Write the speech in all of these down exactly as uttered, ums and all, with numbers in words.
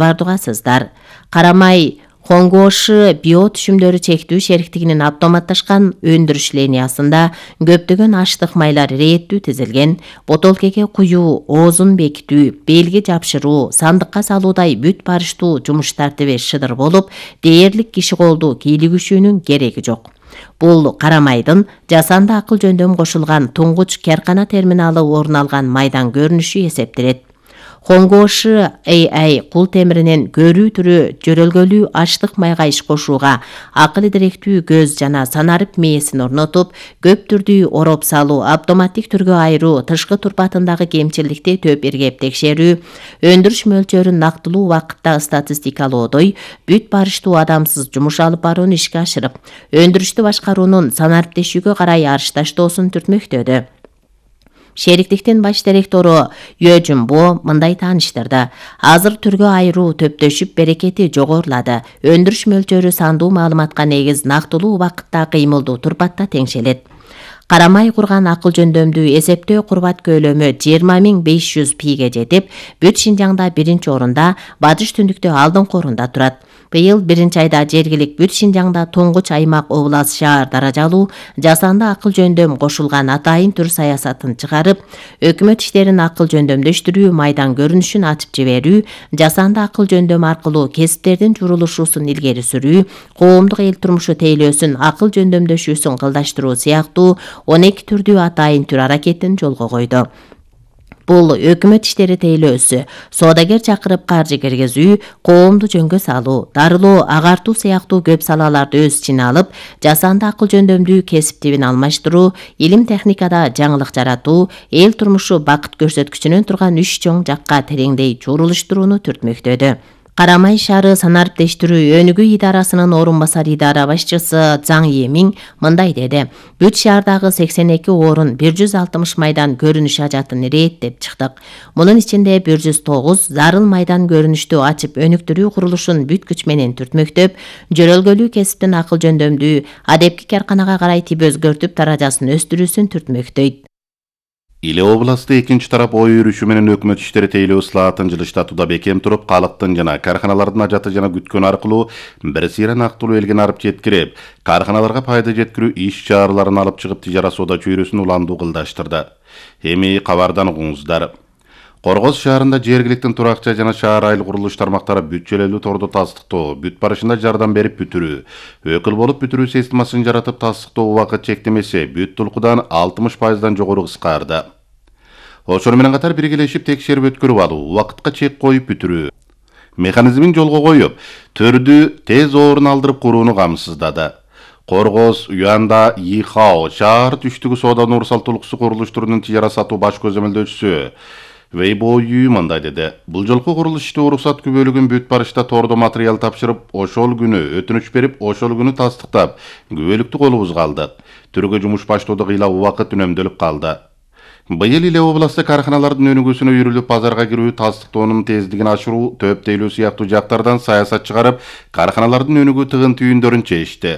бардыгасыздар. Карамай Хонгоши био түшүмдөрү чектүү шериктигинин автоматташкан өндүрүш линиясында көптөгөн аштык майлар рээттүү тизилген, ботолкеге куюу, оозун бекитүү, белги жапшыруу, сандыкка салуудай бүт барыштуу жумуш тартиби шыдыр болуп, дээрлик киши колду кийлигишүүнүн кереги жок. Бул Карамайдын жасанды акыл жөндөм кошулган туңгуч керкана терминалы орун алган майдан көрүнүшү эсептелет. Хонгоши эй ай кул темиринин көрүү түрү жөрөлгөлүү аштык майга иш кошууга, акыл идиректүү көз жана санарып мээсин орнотуп, көп түрдүү ороп салуу, автоматтик түргө айыруу, тышкы турпатындагы кемчиликти төп иргеп текшерүү, өндүрүш мөлчөрүн нактылуу убакытта статистикалоодой, бүт барыштуу адамсыз жумуш алып барууну ишке ашырып, өндүрүштү башкаруунун санариптешүүгө карай арышташтоосун түртмөктөдү. Шериктиктин баш директору Йө Жумбо мындай тааныштырды. Азыр түргө айыруу төптөшүп берекети жогорулады. Өндүрүш мөлчөрү сандуу маалыматка негиз нактылуу убакытта кыймылдуу турпатта теңшелет. Карамай курган акыл жөндөмдүү эсептөө курбат көлөмү жыйырма миң беш жүз пиге жетип, бүт Шинжаңда биринчи орунда, Батыш түндүктө алдыңкы орунда турат. Быйыл биринчи айда жергилик бүт Шинжаңда туңгуч аймак облас шаар даражалуу жасанды акыл жөндөм кошулган атайын түр саясатын чыгарып, өкмөт иштерин акыл жөндөмдөштүрүү майдан көрүнүшүн ачып жиберүү, жасанды акыл жөндөм аркылуу кесиптердин журулушуусун илгери сүрүү, коомдук эл турмушу тейлөөсүн акыл жөндөмдөшүүсүн кылдаштыруу сыяктуу он эки түрдүү атайын түр аракетин жолго койду. Бул өкмөт иштери тейлөөсү, соодагер чакырып каржы киргизүү, коомду жөнгө салуу, дарылоо, агартуу сыяктуу көп салаларды өз ичине алып, жасанды акыл жөндөмдүү кесип тибин алмаштыруу, илим техникада жаңылык жаратуу, эл турмушу бакыт көрсөткүчүнөн турган үч чоң жакка тереңдей чурулуштурууну түртмөктөдү. Карамай шаары санариптештирүү өнүгүү идарасынын орун басар идара башчысы Заң Емиң мындай деди. Бүт шаардагы сексен эки орун бир жүз алтымыш майдан көрүнүш ажатын рээттеп чыктык. Мунун ичинде бир жүз тогуз зарыл майдан көрүнүштү ачып өнүктүрүү курулушун бүт күч менен түртмөктөп, жөрөлгөлүү кесиптин акыл жөндөмдүү адепки карканага карай тип өзгөртүп даражасын өстүрүүсүн түртмөктөйт. Иле областы экинчи тарап ой өрүшү менен өкмөт иштери тейлөө слаатын жылыштатууда бекем туруп, калктын жана карханалардын ажаты жана күткөн аркылуу бир сыйра нактылуу элге арып жеткирип, карханаларга пайда жеткирүү иш чараларын алып чыгып тижара соода чөйрөсүн уландуу кылдаштырды. Эми кабардан угуңуздар. Коргоз шаарында жергиликтин туракча жана шаар айыл курулуш тармактары бүт-чөлөлүү тордо тастыктоо, бүт барышында жардам берип бүтүрүү, өкүл болуп бүтүрүү системасын жаратып тастыктоо убакыт чектемеси бүт тулкудан алтымыш пайыздан жогору кыскарды. Ошону менен катар биргелешип текшерип өткөрүп алуу, убакытка чек коюп бүтүрүү механизмин жолго коюп, төрдү тез орун алдырып курууну камсыздады. Коргоз, Уянда, Ихао, шаар түштүгү соода Нурсал тулкусу курулуштарынын тижара сатуу баш көзөмөлдөөчүсү Вейбою мындай деди. Бул жолку курулуш ишти уруксат күбөлүгүн бүт барышта тордо материал тапшырып, ошол күнү өтүнүч берип, ошол күнү тастыктап, күбөлүктү колубузга алдык. Түргө жумуш баштоодо кыйла убакыт үнөмдөлүп калды. Быйыл эле областта карханалардын өнүгүүсүнө үйрүлүп, базарга кирүү, тастыктоонун тездигин ашыруу, төп тейлөө сыяктуу жактардан саясат чыгарып, карханалардын өнүгүү тыгын түйүндөрүн чечти.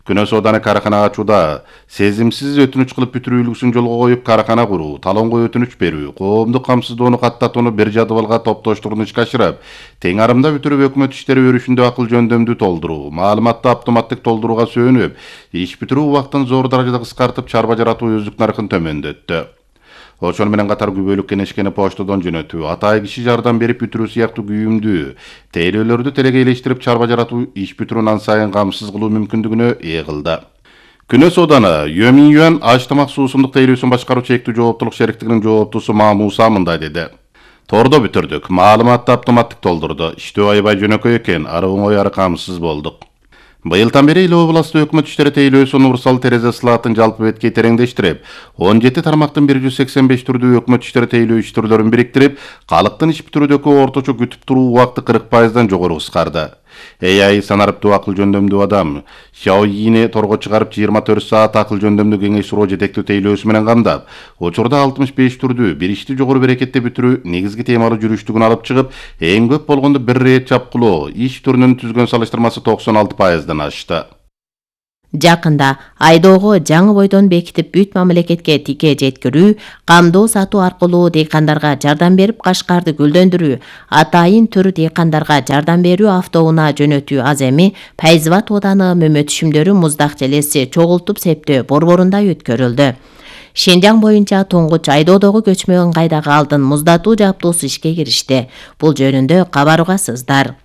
Күнө сооданы кархана ачууда сезимсиз өтүнүч кылып бүтүрүү үлгүсүн жолго коюп, кархана куруу, талонго өтүнүч берүү, коомдук камсыздоону каттатууну бир жадыбалга топтоштурууну ишке ашырып, тең арымда бүтүрүп өкмөт иштери өрүшүндө акыл жөндөмдүү толдуруу, маалыматты автоматтык толтурууга сөөнүп, иш бүтүрүү убактын зор даражада кыскартып, чарба жаратуу өздүк наркын төмөндөттү. Ошону менен катар күбөлүк кенешкени поштодон жөнөтүү, атайын киши жардам берип бүтүрүү сыяктуу күйүмдүү тейлөөлөрдү телегейлештирип, чарба жаратуу, иш бүтүрүүнү ан сайын камсыз кылуу мүмкүндүгүнө ээ кылды. Күнө сооданы Йөминюан аш тамак суусундук тейлөөсүн башкаруу чектүү жооптулук шериктигинин жооптуусу Мамуса мындай деди. Тордо бүтүрдүк, маалыматты автоматтык толдурду, иштөө аябай жөнөкөй экен, ары оңой ары камсыз болдук. Быйылдан бери эле областта өкмөт иштери тейлөөсү Нурсал терезе слаатын жалпы бетке тереңдештирип, он жети тармактын бир жүз сексен беш түрдүү өкмөт иштери тейлөө иш түрлөрүн бириктирип, калктын иш бүтүрүүдөгү орточо күтүп туруу убакыты кырк пайыздан жогору кыскарды. эй ай санариптүү акыл жөндөмдүү адам Xiaoyini торго чыгарып жыйырма төрт саат акыл жөндөмдүү кеңеш суроо жетектүү тейлөөсү менен камдап, учурда алтымыш беш түрдүү бир ишти жогору берекетте бүтүрүү негизги темалуу жүрүштүгүн алып чыгып, эң көп болгондо бир рет чапкылоо иш түрүнүн түзгөн салыштырмасы токсон алты пайыздан ашты. Жакында айдоого жаңы бойдон бекитип бүт мамлекетке тике жеткирүү, камдоо сатуу аркылуу дыйкандарга жардам берип Кашкарды гүлдөндүрүү, атайын төр дыйкандарга жардам берүү автоунаа жөнөтүү аз эми Пайзыбат ооданы мөмө түшүмдөрү муздак желеси чогултуп септөө борборунда өткөрүлдү. Шенжаң боюнча туңгуч айдоодогу көчмө ыңгайдагы алдын муздатуу жабдуусу ишке киришти. Бул жөнүндө кабар угасыздар.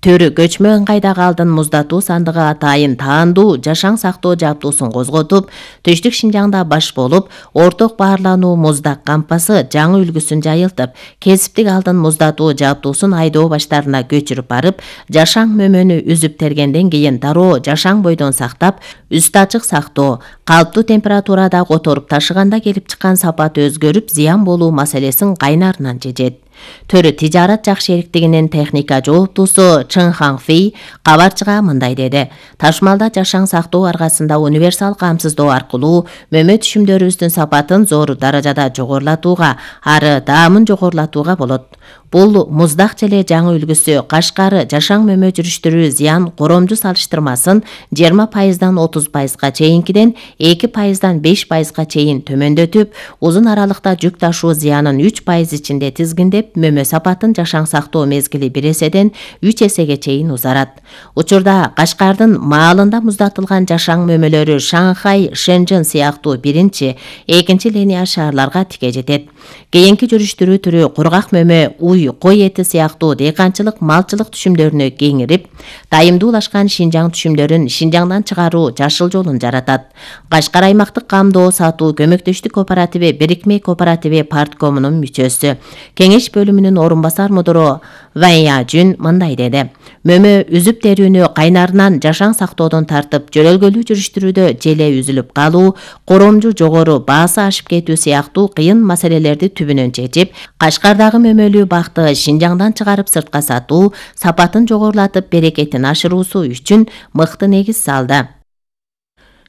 Төрү көчмө ыңгайдагы алдын муздатуу сандыгы атайын таандуу жашаң сактоо жабдуусун козготуп, Түштүк Шинжаңда баш болуп, орток баарлануу муздак кампасы жаңы үлгүсүн жайылтып, кесиптик алдын муздатуу жабдуусун айдоо баштарына көчүрүп барып, жашаң мөмөнү үзүп тергенден кийин дароо жашаң бойдон сактап, үстү ачык сактоо, калыптуу температурада которуп ташыганда келип чыккан сапаты өзгөрүп, зыян болуу маселесин кайнарынан чечет. Төрү тижарат жак шериктигинин техника жооптуусу Чын Хаңфей кабарчыга мындай деди. Ташмалда жашаң сактоо аркасында универсал камсыздоо аркылуу мөмө түшүмдөрүбүздүн сапатын зор даражада жогорулатууга, ары даамын жогорулатууга болот. Бул муздак желе жаңы үлгүсү Кашкары жашаң мөмө жүрүштүрүү зыян коромжу салыштырмасын жыйырма пайыздан отуз пайызга чейинкиден эки пайыздан беш пайызга чейин төмөндөтүп, узун аралыкта жүк ташуу зыянын үч пайыз ичинде тизгиндеп, мөмө сапатын жашаң сактоо мезгили бир эседен үч эсеге чейин узарат. Учурда Кашкардын маалында муздатылган жашаң мөмөлөрү Шанхай, Шэньчжэн сыяктуу биринчи, экинчи линия шаарларга тике жетет. Кийинки жүрүштүрүү түрү кургак мөмө, уй, кой эти сыяктуу дыйканчылык, малчылык түшүмдөрүнө кеңирип, дайымдуулашкан Шинжаң түшүмдөрүн Шинжаңдан чыгаруу жашыл жолун жаратат. Кашкар аймактык камдоо сатуу көмөктөштүк кооперативи бирикме кооперативи парткомунун мүчөсү, кеңеш бөлүмүнүн орун басар мудуру Вайя Жүн мындай деди. Мөмө үзүп терүүнү кайнарынан жашаң сактоодон тартып, жөрөлгөлүү жүрүштүрүүдө желе үзүлүп калуу, коромжу жогору баасы ашып кетүү сыяктуу кыйын маселелерди түбүнөн чечип, Кашкардагы мөмөлүү бакты Шинжаңдан чыгарып сыртка сатуу, сапатын жогорулатып, берекетин ашыруусу үчүн мыкты негиз салды.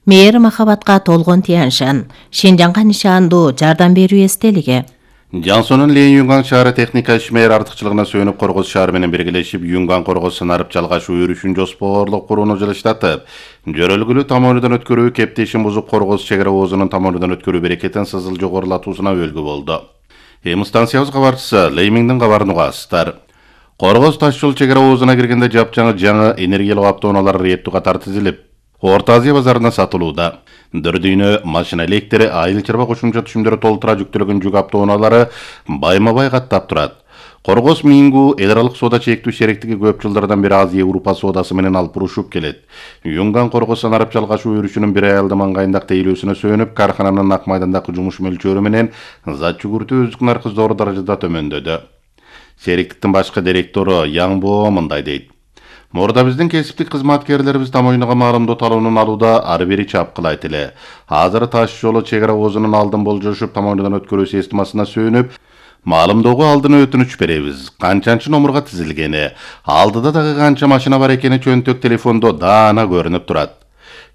Мээри махабатка толгон Тяньшан, Шинжаңга нишандуу жардам берүү эстелиги. Жансонун Лен Юнган шаары техника ишмер артыкчылыгына сүйөнүп Коргоз шаары менен биргелешип Юнган Коргоз сынарып жалгашуу өрүшүн жоспорлук курууну жылыштатып, жөрөлгүлүү тамоонудан өткөрүү кептешин бузуп Коргоз чек ара оозунун тамоонудан өткөрүү берекетин сызыл жогорулатуусуна өөлгү болду. Эми станциябыз кабарчысы Леймиңдин кабарын угасыздар. Коргоз таш жол чек ара оозуна киргенде жапжаңы жаңы энергиялык автоунаалар реттүү катар тизилип, Орто Азия базарына сатылууда. Дөрдүйнө машина электри, айыл чарба кошумча түшүмдөрү толтура жүктөлгөн жүк автоунаалары байма-бай каттап турат. Коргоз Мингу эл аралык соода чектүү шериктиги көп жылдардан бери Азия Европа соодасы менен алып урушуп келет. Юнган Коргоз санарып жалгашуу өрүшүнүн бир айылда маңгайындак тейлөөсүнө сүйөнүп, каркананын ак майдандагы жумуш мөлчөрү менен зат жүгүртүү өздүк наркы зор даражада төмөндөдү. Шериктиктин башкы директору Яңбо мындай дейт. Мурда биздин кесиптик кызматкерлерибиз тамоюнага маалымдоо талоонун алууда ары бери чапкылайт эле. Азыр таш жолу чек ара оозунун алдын болжошуп тамоюндан өткөрүү системасына сүйөнүп, маалымdoого алдын өтүнүч беребиз. Канчанчы номурга тизилгени, алдыда дагы канча машина бар экени чөнтөк телефондо даана көрүнүп турат.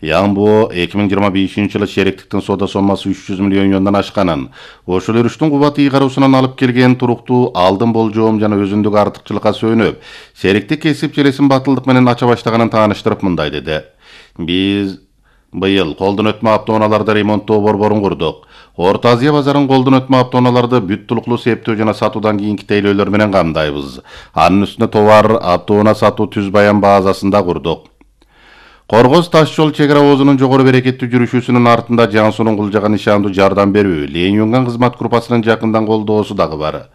Яңбо эки миң жыйырма бешинчи жылы шериктиктин соода соммасы үч жүз миллион юандан ашканын, ошол өрүштүн кубаты ыйгаруусунан алып келген туруктуу алдын болжоом жана өзүндүк артыкчылыкка сүйөнүп, шериктик кесип желесин батылдык менен ача баштаганын тааныштырып мындай деди. Биз быйыл колдон өтмө автоунааларды ремонттоо борборун курдук. Орто Азия базарын колдон өтмө автоунааларды бүт тулуктуу септөө жана сатуудан кийинки тейлөөлөр менен камдайбыз. Анын үстүнө товар автоунаа сатуу түз баян базасында курдук. Коргоз таш жол чек ара оозунун жогору берекеттүү жүрүшүүсүнүн артында Жансонун кулжага нишандуу жардам берүү, Лен Юнган кызмат группасынын жакындан колдоосу дагы бар.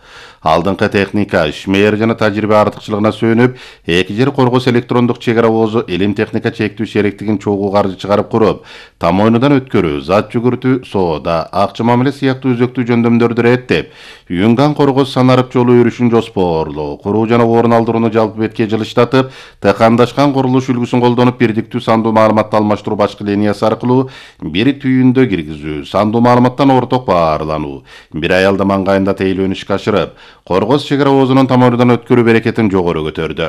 Алдыңкы техника, ишмер жана тажрыйба артыкчылыгына сүйөнүп, эки жер Коргоз электрондук чек ара оозу Элим техника чектүү шериктигин чогуу каржы чыгарып куруп, тамоюнудан өткөрүү, зат жүгүртүү, соода, акча мамиле сыяктуу өзөктүү жөндөмдөрдү реттеп, Юнган Коргоз санарып жолу өрүшүн жоспорлоо, куруу жана орун алдырууну жалпы бетке жылыштатып, тыкандашкан курулуш үлгүсүн колдонуп бирдиктүү сандуу маалыматты алмаштыруу башкы линиясы аркылуу бир түйүндө киргизүү, сандуу маалыматтан орток баарлануу, бир айылда маңгайында тейлөөнү ишке ашырып, Коргоз чек ара оозунун тамоюнудан өткөрүү берекетин жогору көтөрдү.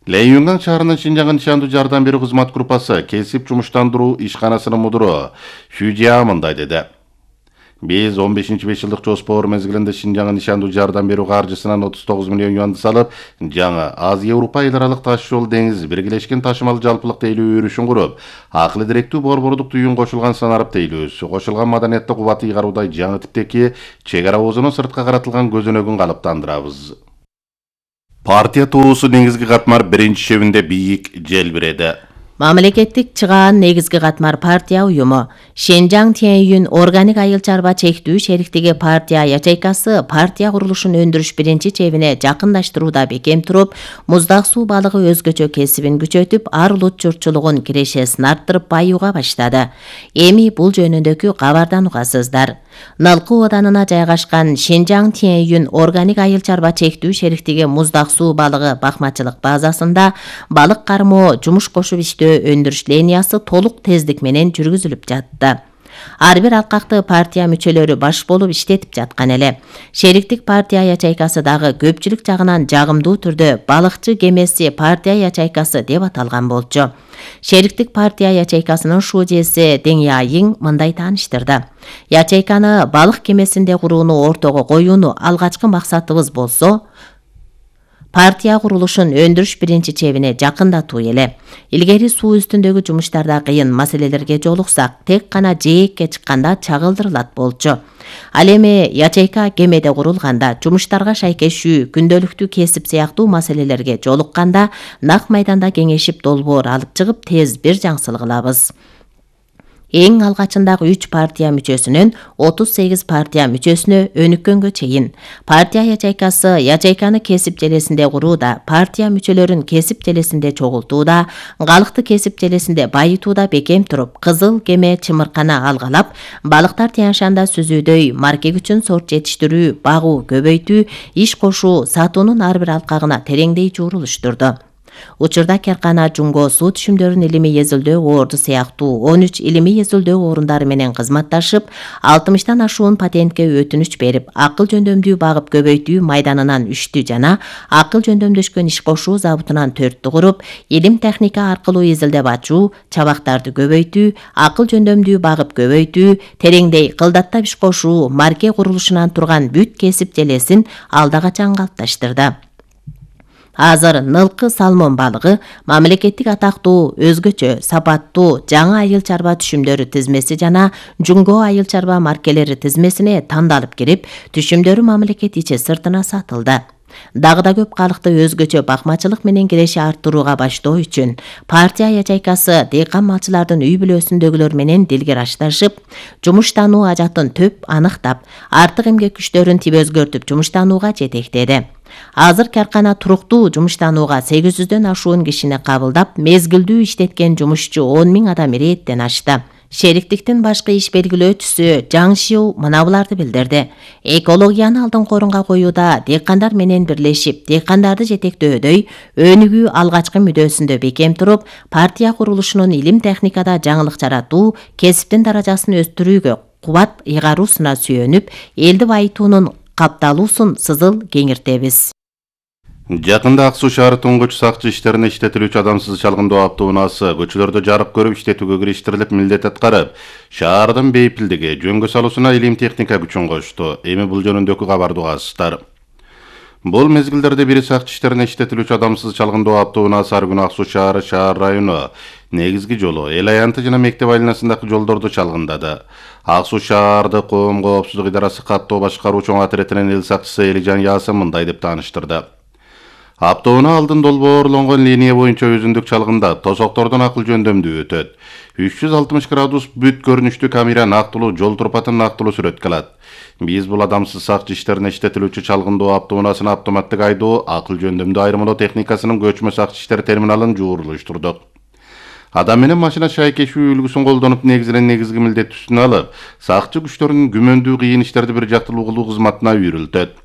Лен Юнган шаарынын Шинжаңга нишандуу жардам берүү кызмат группасы кесип жумуштандыруу ишканасынын мудуру Фюжия мындай деди. Биз он бешинчи беш жылдык жоспор мезгилинде Шинжаңга нишандуу жардам берүү каржысынан отуз тогуз миллион юанды салып, жаңа Азия-Европа эл аралык таш жол деңиз биргелешкен ташымал жалпылык тейлөө өрүшүн куруп, акылы директүү борбордук түйүн кошулган санарып тейлөөсү, кошулган маданиятты кубат ыйгаруудай жаңы типтеки чек ара озону сыртка каратылган көзөнөгүн калыптандырабыз. Партия туусу негизги катмар биринчи чебинде бийик желбиреди. Мамлекеттик чыгаан негизги катмар партия уюму Шенжаң Тянь-Юнь органик айыл чарба чектүү шериктиги партия ячейкасы партия курулушун өндүрүш биринчи чебине жакындаштырууда бекем туруп, муздак суу балыгы өзгөчө кесибин күчөтүп, ар улут журтчулугун кирешесин арттырып баюуга баштады. Эми бул жөнүндөгү кабардан угасыздар. Налкы оданына жайгашкан Шенжаң Тянь-Юнь органик айыл чарба чектүү шериктиги муздак суу балыгы бакмачылык базасында балык кармоо жумуш кошуп иштөө өндүрүш линиясы толук тездик менен жүргүзүлүп жатты. Ар бир алкакты партия мүчөлөрү баш болуп иштетип жаткан эле. Шериктик партия ячейкасы дагы көпчүлүк жагынан жагымдуу түрдө балыкчы кемеси партия ячейкасы деп аталган болчу. Шериктик партия ячейкасынын шуудеси Дең Яйың мындай тааныштырды. Ячейканы балык кемесинде курууну ортого коюуну алгачкы максатыбыз болсо, партия курулушун өндүрүш биринчи чебине жакындатуу эле. Илгери суу үстүндөгү жумуштарда кыйын маселелерге жолуксак, тек гана жээкке чыкканда чагылдырылат болчу. Ал эми ячейка кемеде курулганда, жумуштарга шайкешүү, күндөлүктүү кесип сыяктуу маселелерге жолукканда, нак майданда кеңешип долбоор алып чыгып, тез бир жаңсыл кылабыз. Эң алгачындагы үч партия мүчөсүнөн отуз сегиз партия мүчөсүнө өнүккөнгө чейин партия ячейкасы ячейканы кесип желесинде курууда, партия мүчөлөрүн кесип желесинде чогултууда, калыкты кесип желесинде байытууда бекем туруп, кызыл кеме чымыркана алгалап, балыктар Тянь-Шанда сүзүүдөй марке күчүн сорт жетиштирүү, багуу, көбөйтүү, иш кошуу, сатуунун ар бир алкагына тереңдей жуурулуштурду. Учурда Керкана Жунго суу түшүмдөрүн илимий эзилдөө орду сыяктуу он үч илимий эзилдөө орундары менен кызматташып, алтымыштан ашуун патентке өтүнүч берип, акыл жөндөмдүү багып көбөйтүү майданынан үчтү жана акыл жөндөмдөшкөн иш кошуу забутунан төрттү куруп, илим техника аркылуу изилдеп ачуу, чабактарды көбөйтүү, акыл жөндөмдүү багып көбөйтүү, тереңдей кылдаттап иш кошуу, марке курулушунан турган бүт кесип желесин алда качан калыпташтырды. Азыр нылкы салмон балыгы мамлекеттик атактуу, өзгөчө, сапаттуу жаңы айыл чарба түшүмдөрү тизмеси жана Жунго айыл чарба маркелери тизмесине тандалып кирип, түшүмдөрү мамлекет ичи сыртына сатылды. Дагы да көп калыкты өзгөчө бакмачылык менен киреши арттырууга баштоо үчүн партия ячейкасы дыйкан малчылардын үй бүлөсүндөгүлөр менен дилгирашташып, жумуштануу ажатын төп аныктап, артык эмгек күчтөрүн тип өзгөртүп жумуштанууга жетектеди. Азыр Керкана туруктуу жумуштанууга сегиз жүздөн ашуун кишини кабылдап, мезгилдүү иштеткен жумушчу он миң адам ирээттен ашты. Шериктиктин башкы иш белгилөөчүсү Жаң Шиу мына буларды билдирди. Экологияны алдыңкы орунга коюуда дыйкандар менен бирлешип, дыйкандарды жетектөөдөй өнүгүү алгачкы мүдөөсүндө бекем туруп, партия курулушунун илим техникада жаңылык жаратуу, кесиптин даражасын өстүрүүгө кубат ыйгаруусуна сүйөнүп, элди байытуунун капталуусун сызыл кеңиртебиз. Жакында Ак Суу шаары туңгуч сакчы иштерине иштетилүүчү адамсыз чалгындоо автоунаасы көчөлөрдө жарык көрүп иштетүүгө кириштирилип милдет аткарып, шаардын бейпилдиги, жөнгө салуусуна илим техника күчүн кошту. Эми бул жөнүндөгү кабарды угасыздар. Бул мезгилдерде бири сакчы иштерине иштетилүүчү адамсыз чалгындоо автоунаасы ар күнү Ак Суу шаары шаар району негизги жолу, эл аянты жана мектеп айланасындагы жолдорду чалгындады. Ак Суу шаарды коом коопсуздук идарасы каттоо башкаруу чоң отрядынын эл сакчысы Элижан Ясым мындай деп тааныштырды. Автоунаа алдын долбоорлонгон линия боюнча өзүндүк чалгындап, тосоктордон акыл жөндөмдүү өтөт. үч жүз алтымыш градус бүт көрүнүштүү камера нактылуу жол турпатын нактылуу сүрөткө алат. Биз бул адамсыз сакчы иштерине иштетилүүчү чалгындоо автоунаасынын автоматтык айдоо, акыл жөндөмдүү айрымдоо техникасынын көчмө сакчы иштер терминалын жуурулуштурдук. Адам менен машина шайкешүү үлгүсүн колдонуп негизинен негизги милдеттүүсүн алып, сакчы күчтөрүнүн күмөндүү кыйын иштерди бир жактылуу кылуу кызматына үйрүлтөт.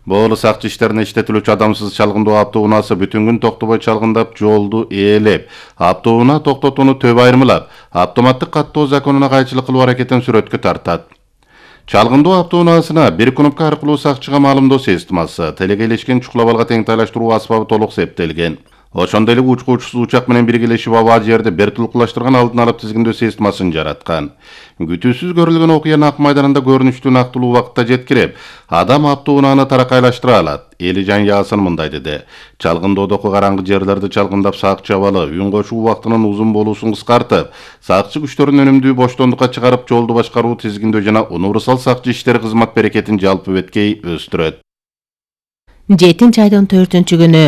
Бул сакчы иштерине иштетилүүчү адамсыз чалгындоо автоунаасы бүтүн күн токтобой чалгындап, жолду ээлеп, автоунаа токтотууну төп айырмалап, автоматтык каттоо законуна кайчылык кылуу аракетин сүрөткө тартат. Чалгындоо автоунаасына бир кнопка аркылуу сакчыга маалымдоо системасы, телегейлешкен чукулабалга тең тайлаштыруу аспабы толук септелген. Ошондой эле учкуучусу учак менен биргелешип аба жерди бертулкулаштырган алдын алып тизгиндөө системасын жараткан. Күтүүсүз көрүлгөн окуя Ак майданында көрүнүштүү нактылуу убакытта жеткирип, адам аптуунааны таракайлаштыра алат. Элижан Ясын мындай деди. Чалгындоодогу караңгы жерлерди чалгындап сакчы абалы үн кошуу убактынын узун болуусун кыскартып, сакчы күчтөрүн өнүмдүү боштондукка чыгарып жолду башкаруу тизгиндөө жана универсал сакчы иштери кызмат берекетин жалпы беткей өстүрөт. жетинчи айдын төртүнчү күнү